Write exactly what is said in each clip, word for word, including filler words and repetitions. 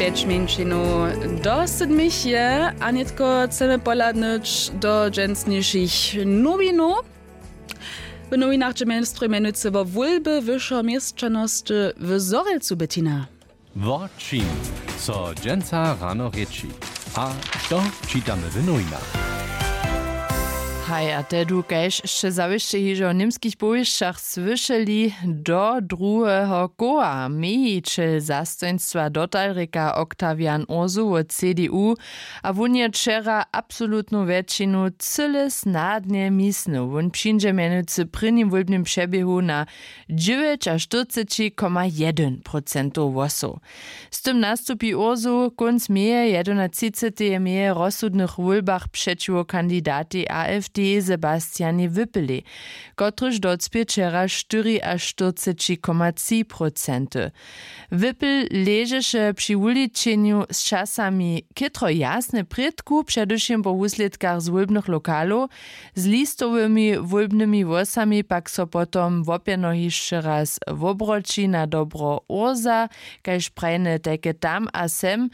Pjeć mjeńšinow do sydmich je a nětko chcemy pohladnyć do dźensnišich nowinow. W nowinach dźe mjenstroj mjenujcy wo wólby wyšeho měšćanosty w zhorjelcu, Bettina. Wo čim so dźensa rano rěči a što čitamy w nowinach? Haj a tehdu kaž sće zawěsće hižo w němskich powěsćach słyšeli, do druheho koła mějićel zastojnstwa dotalrika oktawian ursu wot cdu, a wón je wčera absolutnu wjetšinu cyle snadnje misnył. Wón přińdźe mjenujcy w prěnim wólbnym přeběhu na dźewjećaštyrceći koma jedyn procentow hłosow. Z tym nastupi ursu kónc meje jedynatřiceteje meje w rozsudnych wólbach přećiwo kandidatej afd sebastianjej wypelej, kotryž docpě wčera štyriaštyrceći koma tři procenty. Wypel ležeše při wuličenju z časami chětro jasne prědku předewšěm po wuslědkach z wólbnych lokalow. Z listowymi wólbnymi hłosami pak so potom łopjeno hišće raz wobroći na dobro ursa, kaž prajne tajke tam a sem.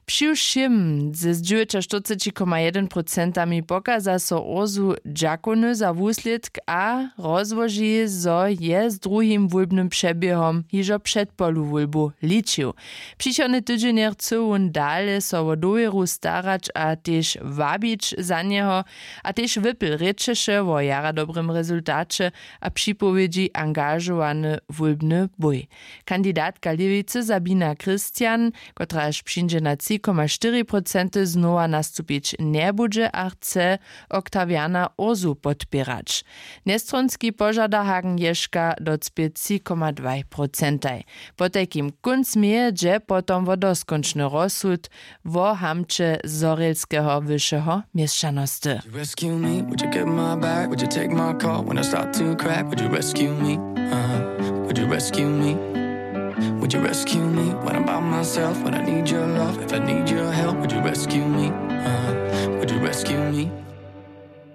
Přiwšěm ze dźewjećaštyrceći koma jedyn procentami pokaza so ursu dźakowny za wuslědk a rozłoži zo je z druhim wólbnym přeběhom hižo předpolu wólbow ličił. Přichodny tydźenje chcy wón dale so wo dowěru starać a tež wabić za njeho. A tež wypl rěčeše wo jara dobrym rezultaće a připowědźi angažowany wólbny bój. Kandidatka lěwicy sabina christian, kotraž přińdźe na tři koma štyri procenty znowa nastupić njebudźe a chce oktawiana ursu podpěrać. Njestronski požada hagen ješka docpě tři koma dwaj procentaj. Potajkim kónc meje dźe potom wo doskónčny rozsud wo hamće zhorjelskeho wyšeho měšćanosty. Rescue me, would you get my back? Would you take my call when I start to crack? Would you rescue me? Uh, would you rescue me? Would you rescue me when I'm by myself? When I need your love, if I need your help, would you rescue me? Uh, would you rescue me?